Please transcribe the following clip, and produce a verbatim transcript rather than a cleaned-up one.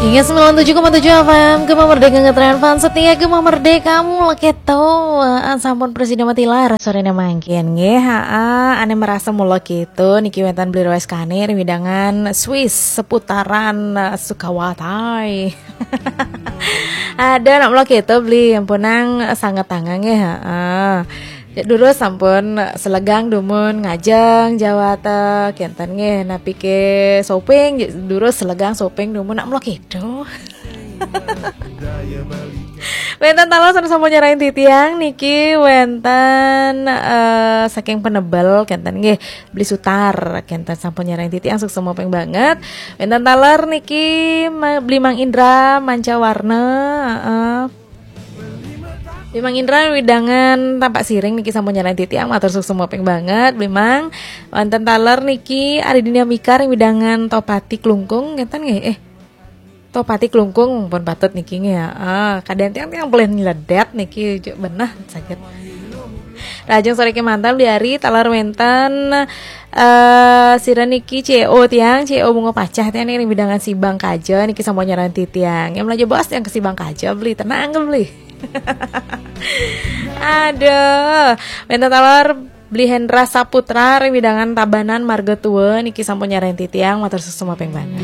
Iya, sembilan tujuh koma tujuh F M, Gema Merdeka ngetren, fans setia Gema Merdeka, mula keto. Heeh, sampun presida matilar sorene mangkin nggih. Heeh, ane merasa mula keto niki wenten Bli Roeskane ring wewidangan Swiss seputaran, eh, Sukawati. Ada nak mula keto Bli, ampunang sanget tangan nggih. Heeh. Durus sampun selegang dumun ngajeng jawata kenten nggih, napi ke shopping, durus selegang shopping dumun nak mula keto. Wenten taler sampun nyerahin titiang niki wenten, eh, saking Penebel kenten nggih, Bli Sutar kenten sampun nyerahin titiang, suksma ping banget. Wenten taler niki ma-, Bli Mang Indra Mancawarna, heeh. Bli Mang Indra wewidangan Tampaksiring niki sampun nyerahin titiang, matur suksma ping banget Bli Mang. Wenten taler niki Ari Dinamika ring wewidangan Tohpati Klungkung kenten nggih. Eh, Tohpati Klungkung pun patut niki nggih, heeh. Kadang tiang-tiang pelih nyledet niki juk beneh saget. Rahajeng sore kemanten Bli Ari, taler wenten, eh, sira niki C E O tiang, C E O Bunga Pacah tiang niki ring wewidangan Sibang Kaja niki sampun nyerahin titiang. Yang belanja bos yang ke Sibang Kaja Bli, tenang ke Bli. Aduh, wenten taler Bli Hendra Saputra ring wewidangan Tabanan Marga Tua niki sampun nyerahin titiang, matur suksma ping banget.